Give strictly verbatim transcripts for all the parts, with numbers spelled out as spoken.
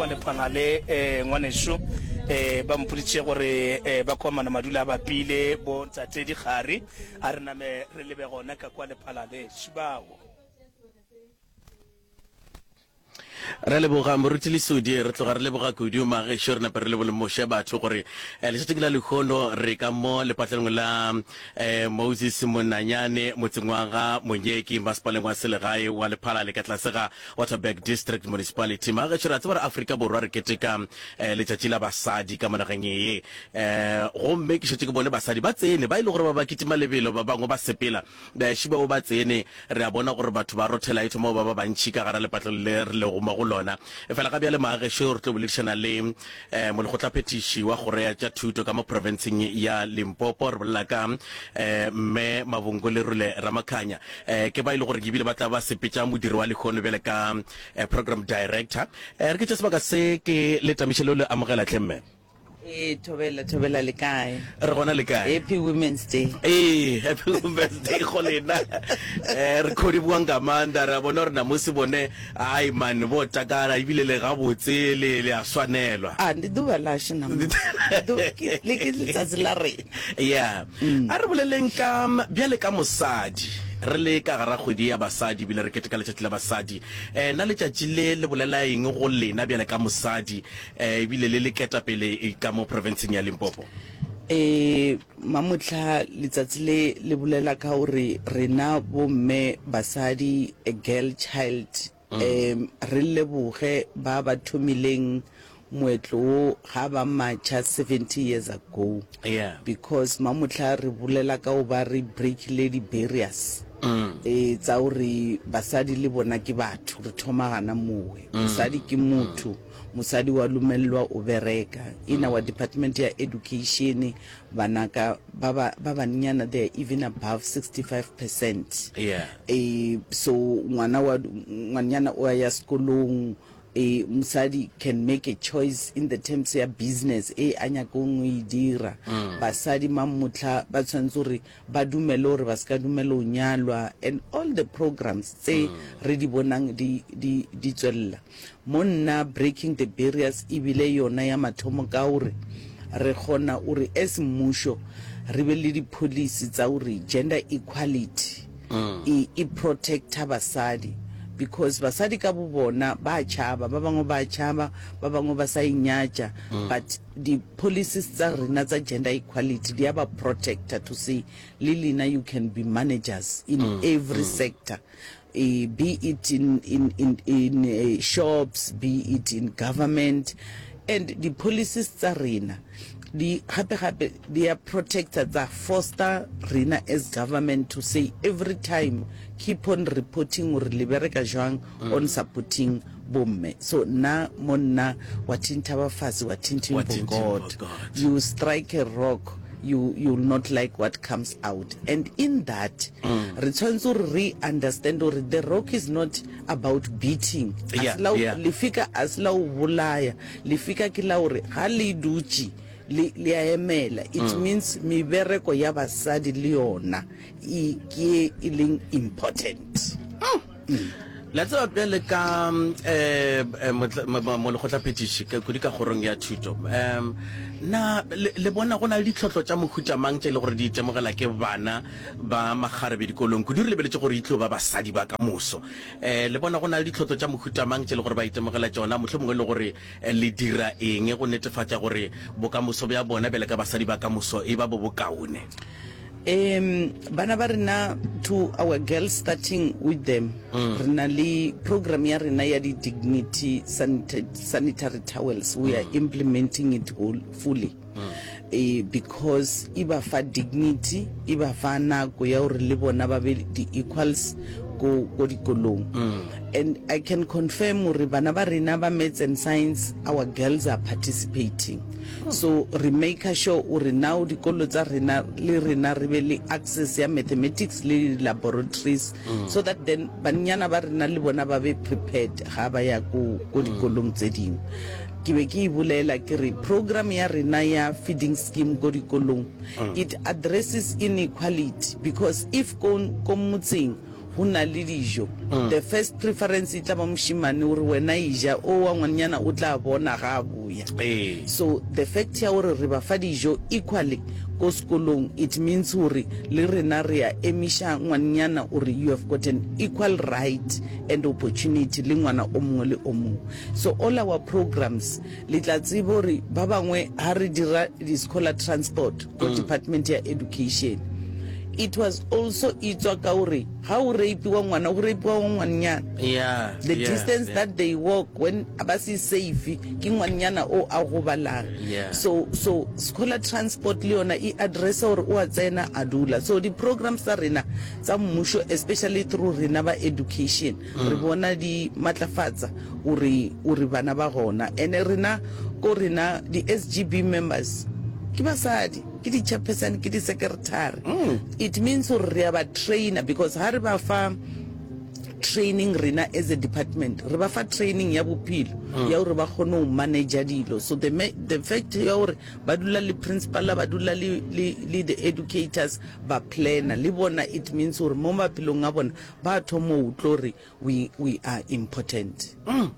kwa Lephalale um ngwanešu um ba mpoditše gore um ba komana madula a bapile bo ntate Dikgari a re name re lebe gona ka kwa Lephalale šibao. Re leboga Moruti Lesodi, re tloga re leboga kudu magešo, re nape re lebolemoše batho gore eh, letšatšing la lehono re ka mo lepatlelong la eh, Moses Monanyane motseng wa ga Monyeki masepaleng wa selegae wa Lephalale ka tlase ga Waterberg District Municipality. Magešo re a tseba re Afrika Borwa re keteka eh, letšatši la basadi ka mo nageng ye eh, gomme ke šetše ke bone basadi ba tsene ba e le gore ba ba kitima lebelo ba bangwe ba sepela baši bao ba tsene re a bona gore batho ba rothela e thoma go ba ba bantši ka gara lepatlelo le re lego mo go lona. Efela ga bjale maagešo re tlo boledišana le um molekgotlaphethiši wa kgoro ya tša thuto ka mo profenseng ya Limpopo. Re bolela ka um mme Mabongo Lerule Ramakhanya um ke ba e le gore ebile ba tla ba sepetša modiro wa lehono bjale ka um program director. Um re ke tše sebaka se ke le tamiše le le amogela tlhe mme. Ee, thobela, thobela le kae? Re gona le kae? Happy Women's Day. Ee, happy Women's Day go lena. Eh, re khodi buang ka manda re a bona gore namusi bone ai man bo takala ebile le gabotse le le a swanelwa. Ah, ndi ḓuvha lashu na le ke letsatsi la rena. Yeah. A re boleleng ka bjale ka mosadi re le ka gara kgwedi ya basadi ebile re keteka letšatši la basadi. Eh, na letšatši le le bolela eng go lena bjale ka mosadi eh, ebile le le ketapele ka mo provinceng ya Limpopo? Eh, mamotlha letsatsi le le bolela ka gore rena bomme basadi a girl child um re leboge ba ba thomileng moetlo wo ga ba matšha seventy years ago. Yeah. Because mamotlha re bolela ka go ba re breakile di-barriers e tsa gore basadi le bona ke batho re thoma gana mowe mosadi ke motho mosadi wa lumelelwa o bereka in our department ya education banaka ba ba ba bannyana they are even above sixty-five percent. Yeah. eh so ngwana wa ngwanyana o ya sekolong eh mosadi can make a choice in the terms ya business e a nyakong go e dira. Basadi mamotla ba tshwanetse gore ba dumele gore ba se ka dumela go nyalwa and all the programs tse re di bonang di di di tswelela mo nna breaking the barriers ebile yona ya mathomo ka gore re kgona gore as mmušo re be le di-policy tsa gore gender equality e, e protecta basadi because basadi ka bo bona ba tšhaba ba bangwe ba tšhaba ba bangwe ba sa inyatša but di-policies tsa rena tsa gender equality di a ba protecta to say le lena you can be managers in every sector uh, be it in in in, in uh, shops be it in government and the policies tsa rena di gape gape di a protecta tsa foster rena as government to say every time keep on reporting gore le bereka jwang on supporting bomme so nna mo nna wa thintha ba fase wa thinthing Wa for thinthing god for God. you strike a rock you you will not like what comes out and in that re tshwanetse gore re understand gore the rock is not about beating A Yeah, se la o- yeah. lefika a se la o bolaya lefika ke la gore ga le dutše le le a emela it means mebereko ya basadi le yona e ke e leng important La tseba bjale ka um molekgotlaphethiši kudu ka kgorong ya thuto um na le le bona go na le ditlhohlo tša mohuta mang tše e le gore di itemogela ke bana ba makgarebe dikolong kudu re lebeletše gore e tlo ba basadi ba ka moso um le bona go na le ditlhohlo tša mohuta mang tše e le gore ba itemogela tšona mohlomongwe le gore eh, le dira eng go netefatša gore bokamoso bja bona bjale ka basadi ba ka moso e ba bo bokaone um bana ba rena to our girls starting with them re na le program ya rena ya di-dignity sanita sanitary towels we are implementing it whole, fully eh, because e ba fa dignity e ba fa nako ya gore le bona ba be di-equals ko ko dikolong and i can confirm gore bana ba rena ba maths and science our girls are participating so re make sure gore now dikolo tsa rena le rena re be le access ya mathematics le laboratories so that then banyana ba rena le bona ba be prepared ga ba ya ko ko dikolong tse dingwe ke be ke e bolela ke re program ya rena ya feeding scheme ko dikolong it addresses inequality because if ko ko motseng go na le dijo, the first preference e tla ba mošemane gore wena e ja, o wa ngwanyana o tla bona ga a boya. Ee. So the fact ya gore re ba fa dijo equally ko sekolong, it means gore le rena re a emiša ngwanyana gore you have got an equal right and opportunity le ngwana o mongwe le o mongwe. So all our programs, le tla tseba gore ba bangwe ha re dira di-scholar transport ko department ya education, it was also e tswa ka gore ga o rapiwa ngwana, go rapiwa ngwanyana. Yeah The yeah, distance yeah. that they walk when ba se safe, ke ngwanyana o a gobalang. Yeah. So so scholar transport le yona e addressa gore o a tsena a dula. So di-programs tsa rena tsa mmušo, especially through rena ba education, re bona di matlafatsa ore ore bana ba gona. And rena ko rena di-S G B members ke basadi, ke di-chairperson, ke di-secretary. It means gore re a ba trainer, because ha re ba fa training, rena as a department re ba fa training ya bophelo ya gore ba kgone go manager dilo. So the, ma- the fact ya gore ba dula le principal, ba dula le, le, le the educators, ba planner le bona, it means gore mo maphelong a bona ba thoma go utlwa gore we, we are important. Mm.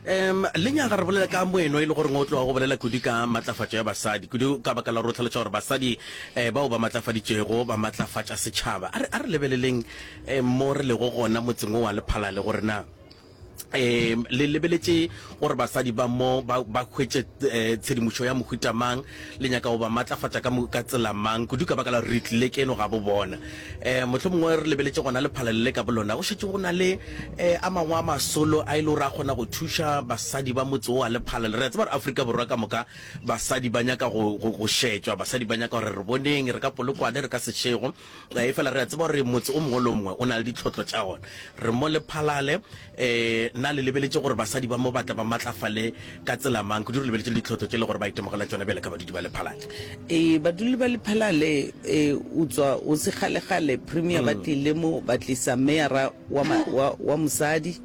um le nyaga re bolela ka moeno e le gore o tloga go bolela kudu ka matlafatšo ya basadi, kudu ka baka la gore o tlhaloša gore basadi um bao ba matlafaditšego ba matlafatša setšhaba. A re a re lebeleleng um mo re lego gona motseng o wa Lephalale, gore na um le lebeletše gore basadi ba mo ba ba hwetše eh, tshedimošo ya mohuta mang, le nyaka go ba matlafatša ka mo- ka tsela mang, kudu ka baka la gore re tlile keno ga bo bona um mohlomongwe re lebeletše gona Lephalale le ka bolona, go šetše go na le um a mangwe a masolo a e le gore a kgona go thuša basadi ba motse o wa Lephalale. Re a tseba gore Afrika Borwa ka moka basadi ba nyaka go, go, go šetšwa, basadi ba nyaka gore re boneng re ka Polokwane, re ka Seshego, e fela re a tseba gore motse o mongwe le o mongwe o na le ditlhotlo tša gona. Re mo Lephalale, um na le lebeletše gore basadi ba mo batla ba matlafale ka tsela mang, kudu re lebeletše le ditlhotlo tše le gore ba itemogela tšona bjale ka badudi ba Lephalale? E baduli ba Lephalale, e o tswa o se kgale-kgale premier ba tlile mo, ba tlisa meyara wa, ma- wa, wa mosadi,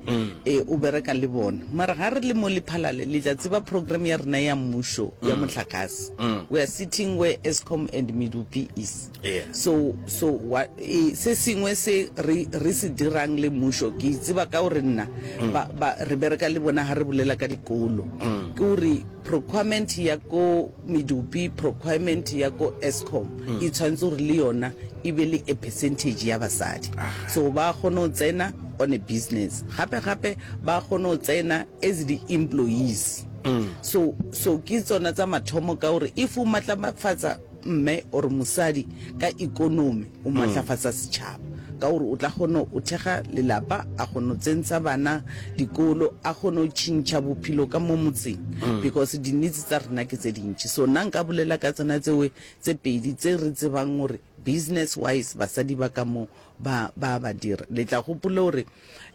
e o bereka le bona. Mara ga re le mo Lephalale, le tla tseba program ya rena ya mmušo ya motlakase, we are sitting where Eskom and Medupi is. Yeah. so so wa, e, se sengwe se re, re se dirang le mmušo, ke tseba ka gore nna ba, ba, re bereka le bona ga re bolela ka dikolo, ke gore procurement ya ko Medupi, procurement ya ko Eskom, e tshwanetse gore le yona e be le a percentage ya basadi, so ba kgone go tsena on a business, gape gape ba kgone go tsena as di-employees. so so ke tsona tsa mathomo, ka gore if o matlafatsa mme or mosadi ka economy, o matlafatsa setšhaba, ka gore o tla kgona o thekga lelapa, a kgone go tsentsha bana dikolo, a kgone go tšhintšha bophelo ka mo motseng, because di-needs tsa rena ke tse dintši. So nna nka bolela ka tsona tsewe tse pedi tse re tsebang gore business wise basadi ba ka mo ba ba ba dira. Le tla gopola gore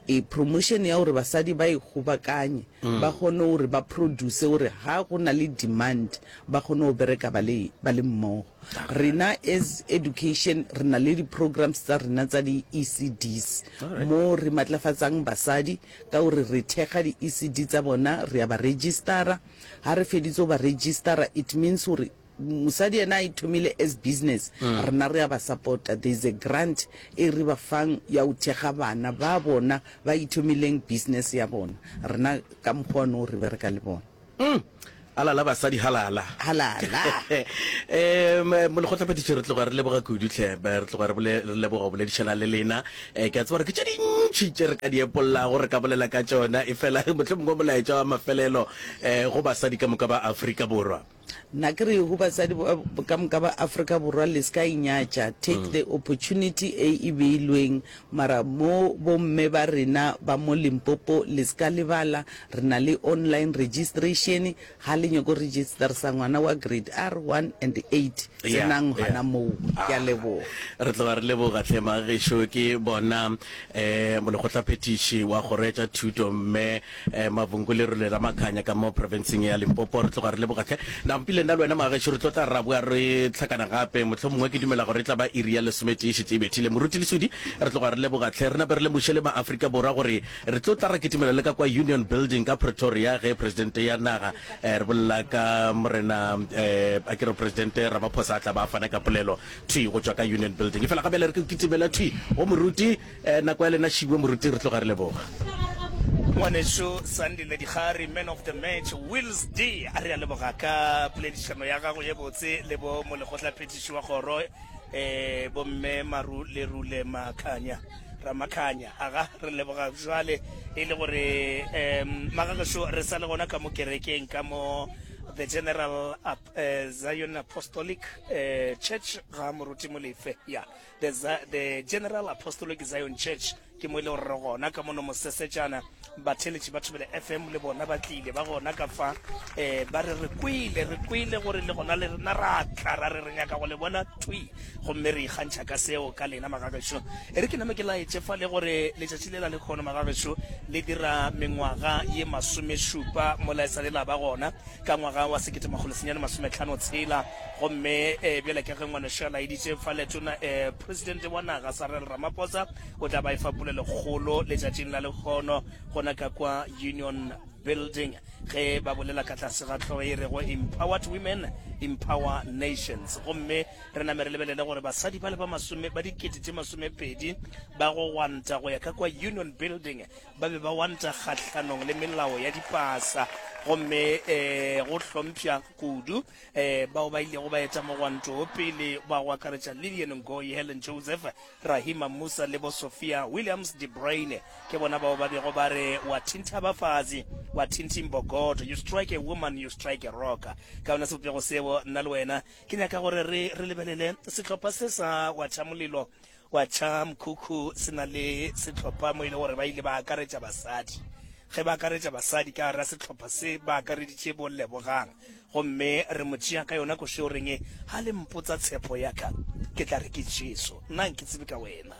e promotion ya gore basadi ba ikgobakanye, ba kgone gore ba produce, gore ga go na le demand ba kgone go bereka ba le ba le mmogo. Rena as education re na le di-programs tsa rena tsa di-E C Ds, mo re matlafatsang basadi ka gore re thekga di-E C D tsa bona, re ya ba registera. Ga re feditse go ba registera, it means gore mosadi ena a ithomile as business, rena re ya ba support-a. There is a grant e re ba fang ya go thekga bana ba bona ba ithomileng business ya bona. Rena ka mokgwa ono re bereka le bona. Mm. Alala basadi, halala. Halala. um molekgotlaphethiši, re tloga re leboga kudu tlhe, re tloga re bole- re leboga go boledišana le lena. um ke a tseba gore ke tše dintšhi tše re ka di epollago, re ka bolela ka tšona, e fela mohlomongwe molaetša wa mafelelo um go basadi ka moka ba Afrika Borwa? Nna ke re go basadi ba- ka moka ba Afrika Borwa, le se ka inyatša, take the opportunity e e beilweng. Mara mo bomme ba rena ba mo Limpopo, le se ka lebala re na le online registration. Ga le nyako registersa ngwana wa grade R one and eight, Yeah, tsenang yeah. gona moo. Ke a leboga. Re tloga re leboga tlhe magešo. Ke bona um molekgotlaphethiši wa kgoro ya tša thuto, mme um Mavhungu Lerole Ramakhanya, ka mo provinceng ya Limpopo. Re tloga re leboga tlhe. Nako. Nampile nna le wena magešo re tlo tla ra boa re hlakana gape, mohlomongwe ke dumela gore e tla ba iri ya lesometee e šetše e bethile. Moruti Lesodi, re tloga re leboga hle. Re nape re lemoše le maAfrika Borwa gore re tlo tla ra kitimela le ka kwa Union Building ka Pretoria ge Presidente ya naga, eh, re bolela ka Morena, eh, a ke re Presidente Ramaphosa a tla ba a fana ka polelo thwi go tšwa ka Union Building. Efela ga bjale re ke kitimela thwi go Moruti, eh, nako ya lena šiwe Moruti, re tloga re leboga. Ngwanešu Sandile Dikgari, man of the match, Wills D, a re a leboga ka poledišano ya gago ye botse le bo molekgotlaphethiši wa kgoro eh bomme Maru Lerule Makhanya Ramakhanya. Aga re leboga jwale e le gore um magagešo re sa le gona ka mo kerekeng ka mo the General uh, Zion Apostolic uh, Church ga Moruti Molefe. Ya the, the General Apostolic Zion Church ke mo e le gore re gona ka mono mosesetšana. Batheletši ba Thobela F M le bona ba tlile ba gona ka fa, um ba re re kwele re kwele gore le gona le rena ra tla ra re re nyaka go le bona thwi, gomme re ikgantšha ka seo ka lena magagešo. E re ke name ke laetše fa le gore letšatši le la lekgono magagešo le dira mengwaga ye masomešupa mola e sa le la ba gona ka ngwaga wa sekete makgolo senyane masometlhano tshela. Gomme um bjale ka ge ngwanešo a laeditše fa letona um presidente wa naga Cyril Ramaphosa o tla ba e fa polelokgolo letšatšing la lekgono gona ka kwa Union Building ge ba bolela ka tlase ga hlogo e rego Empowered Women Empower Nations. Gomme re name re lebelele gore basadi ba le ba masome ba dikete tše masomepedi ba go gwanta go ya ka kwa Union Building ba be ba gwanta kgahlanong le melao ya dipasa, gomme um go hlompša kudu um bao ba ilego ba eta mogwanto o pele ba go akaretša Lillian Ngoyi, Helen Joseph, Rahima Musa le bo Sophia Williams de Bruyne. Ke bona bao ba bego ba re wa thintha bafazi wa thinthi mbogoto, you strike a woman you strike a rock. Ka yona sebopego seo nna le wena ke nyaka gore re re lebelele sehlopha se sa wa tšha molelo wa tšha mkhukhu se na le sehlopha mo e le gore ba ile ba akaretša basadi. Ge ba akaretša basadi ka gare ga sehlopha se ba akareditše bo Lebogang, gomme re mo tšea ka yona košo reng ga le mpotsa tshepo ya ka ke tla re ke Jesu, nna nke tsebe ka wena.